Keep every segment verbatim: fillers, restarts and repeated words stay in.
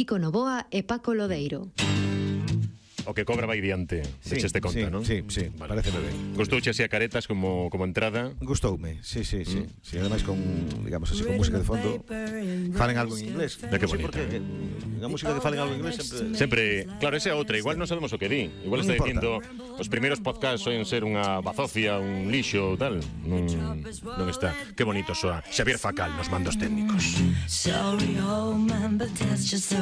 Kiko Novoa e Paco Lodeiro. O que cobra vai diante, Sí, echeste conta, sí, non? sí, sí, Vale. pareceme ben. Gustouche así a caretas como, como entrada? Gustoume, sí, sí, sí. Mm. Sí, ademais con, digamos así, con música de fondo, falen algo en inglés. De que Sí, bonito. porque a música que falen algo en inglés sempre... Sempre, claro, esa é outra, igual non sabemos o que di. Igual está Non importa. dicindo os primeiros podcasts soen ser unha bazocia, un lixo, tal. Non, non está. Que bonito soa Xavier Facal nos mandos técnicos.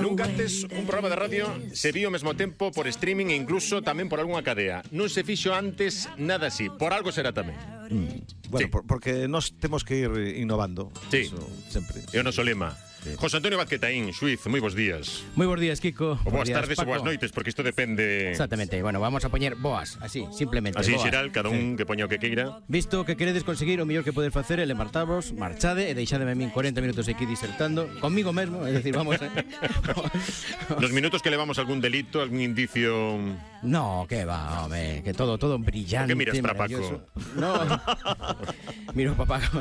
Nunca antes un programa de radio se vio ao mesmo tempo por streaming e incluso tamén por algunha cadea. Non se fixo antes nada así. Por algo será tamén. Mm. Bueno, Sí. por, porque nós temos que ir innovando. Sí. Eso, sempre. É o noso lema. Sí. José Antonio Vázquez Taín, xuiz, moi bons días. Moi bons días, Kiko. O boas días, tardes ou Paco. boas noites, porque isto depende... Exactamente. Bueno, vamos a poñer boas, así, simplemente. Así boas. xeral, cada un que poña o que queira. Visto que queredes conseguir, o mellor que poder facer é levantaros, marchade e deixademe a min cuarenta minutos aquí disertando comigo mesmo, é dicir, vamos eh. Nos minutos que levamos algún delito, algún indicio... No, que va, home, que todo todo brillante. Por que miras para maravilloso. No. Miro para Paco.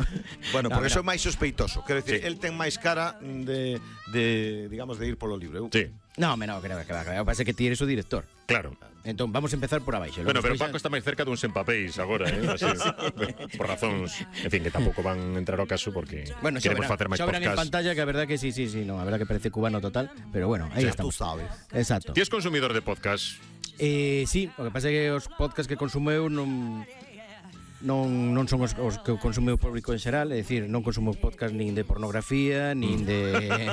Bueno, No, porque mira. son máis sospeitoso. Quero dicir, Sí. el ten máis cara de, de digamos, de ir polo libre. Eu- Sí, No, me no, creo que va, creo. Parece que ti eres o director. claro. Entón, vamos a empezar por abaixo. Bueno, pero Despois Paco está máis cerca duns empapéis agora, eh? Así, por razóns, en fin, que tampouco van entrar ao caso porque Bueno, queremos sobran, facer máis sobran en podcast. pantalla, que a verdad que sí, sí, sí, no, a verdad que parece cubano total, pero bueno, ahí Ya estamos. tú sabes. Exacto. Ti es consumidor de podcast? Eh, sí, o que pasa é que os podcasts que consumo eu non non, non son os, os que consume o público en xeral, é dicir, non consumo podcast nin de pornografía, nin de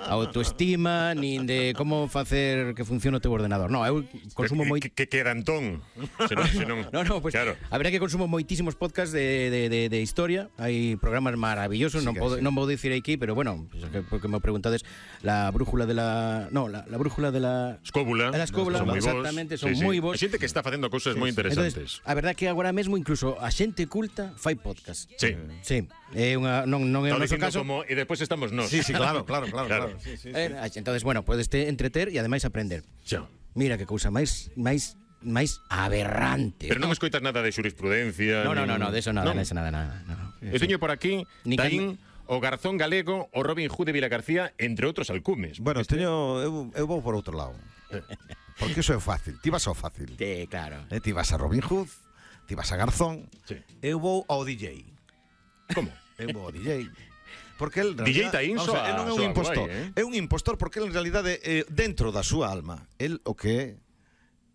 autoestima, nin de como facer que funcione o teu ordenador. No, eu consumo moi Que, que, que queda Antón. Senón, senón, No, no, pues claro. a verdad que consumo moitísimos podcasts de, de, de, de historia. Hai programas maravillosos, Sí non que podo, sí. non vou dicir aquí, pero bueno, pues, que, porque me preguntades la brújula de la, no, la, la brújula de la Escóbula. A la escóbula, son moi bons. exactamente, son moi bons. Hai xente que está facendo cousas moi interesantes. Entonces, a verdad que agora mesmo incluso a xente culta fai podcast. Sí. Sí, é unha non non é o Estaba noso dicindo caso. como e despois estamos nós. Sí, sí, claro, claro, claro. Claro. claro. Sí, sí, sí. Eh, entonces, bueno, podes te entreter e ademais aprender. Xa. Mira que cousa máis máis máis aberrante. Pero non me escoitas nada de xurisprudencia. No, no, no, nin- no, de eso nada, Non. de eso nada, nada. No. Eu teño por aquí Ni Taín, o Garzón Galego, o Robin Hood de Vilagarcía, entre outros alcumes. Bueno, teño, eu, eu vou por outro lado. Porque iso é fácil. Ti vas ao fácil. Sí, claro. Eh, ti vas a Robin Hood, ti vas a Garzón. Sí. Eu vou ao D J. Como? Eu vou ao D J. Porque el, D J Taín vamos a ver, soa- el non é un soa impostor. guai, eh? É un impostor porque el, en realidade eh, dentro da súa alma, el o que é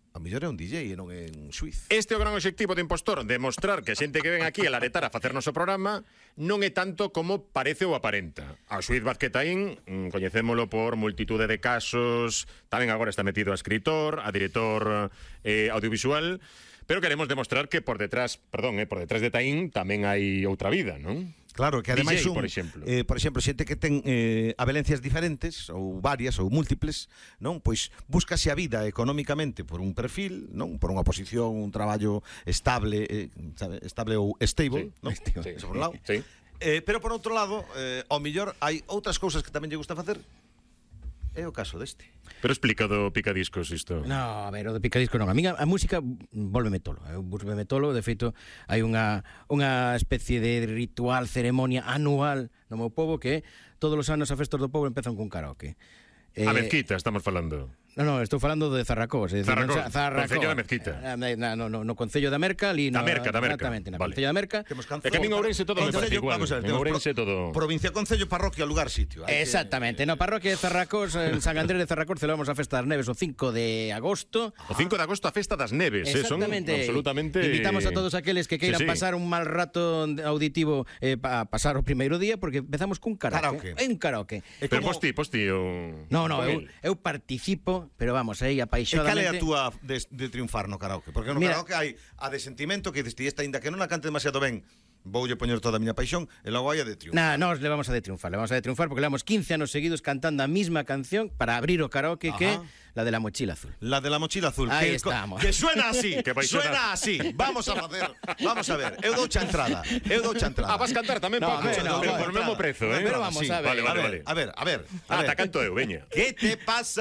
a mellor é un D J e non é un xuiz. Este é o gran obxectivo do impostor, demostrar que a xente que ven aquí a laretar a facernos o programa non é tanto como parece ou aparenta. A xuiz Vázquez Taín, mm, coñecémolo por multitude de casos, tamén agora está metido a escritor, a director eh, audiovisual, pero queremos demostrar que por detrás, perdón, eh, por detrás de Taín tamén hai outra vida, non? Claro, que ademais D J, un, por exemplo. eh, por exemplo, xente que ten eh, abelencias diferentes ou varias ou múltiples, non? Pois búscase a vida económicamente por un perfil, non? Por unha posición, un traballo estable, eh, sabe, estable ou stable, Sí, non? sí, Eso por un lado. sí. Eh, pero por outro lado, eh, ao mellor hai outras cousas que tamén lle gusta facer. É o caso deste. Pero explica do picadiscos isto. No, a ver, o de picadisco non. A min a, a música volveme tolo. Eu volveme tolo, de feito, hai unha unha especie de ritual, ceremonia anual no meu pobo que todos os anos a festas do pobo empezan cun karaoke. A mezquita estamos falando. No, no, estou falando de Zarracós, é dicir, Zarracós, non sa- Zarracós. Concello da Mezquita. Eh, na- No, no, no Concello da Merca, ali no, Da Merca, da Merca. Exactamente, na Vale. Concello da Merca. Temos É que a min Ourense todo me parece igual. Vamos a ver, En temos Ourense pro- todo... Provincia, concello, parroquia, lugar, sitio. Hai que- Exactamente, no parroquia de Zarracós, en San Andrés de Zarracós, celebramos a Festa das Neves o cinco de agosto. O cinco de agosto a festa das neves, eh, son Exactamente. absolutamente... Invitamos a todos aqueles que queiran Sí, sí. pasar un mal rato auditivo eh, para pasar o primeiro día, porque empezamos cun karaoke. Karaoke. É un karaoke. É Pero como- posti, posti o... No, no, con eu, el. eu participo, pero vamos, aí E apaixonadamente. cal é a túa de, de triunfar no karaoke? Porque no Mira, karaoke hai a de sentimento que diste esta, ainda que non a cante demasiado ben, voulle poñer toda a miña paixón, e logo hai a de triunfar. Nah, nos le vamos a de triunfar, le vamos a de triunfar porque levamos quince anos seguidos cantando a misma canción para abrir o karaoke, que é Ajá. la de la mochila azul. La de la mochila azul. Ahí que, estamos. Que suena así, Que vai sonar. suena así. Vamos a facer, vamos a ver. Eu dou xa entrada, eu dou xa entrada. Ah, vas cantar tamén, No, Paco, hombre, no, pero vale, por mesmo entrada. prezo, eh? Pero vamos a ver. Vale, vale, a ver, vale. a ver, a ver. a Ah, ver. te canto eu, veña. ¿Qué te pasa?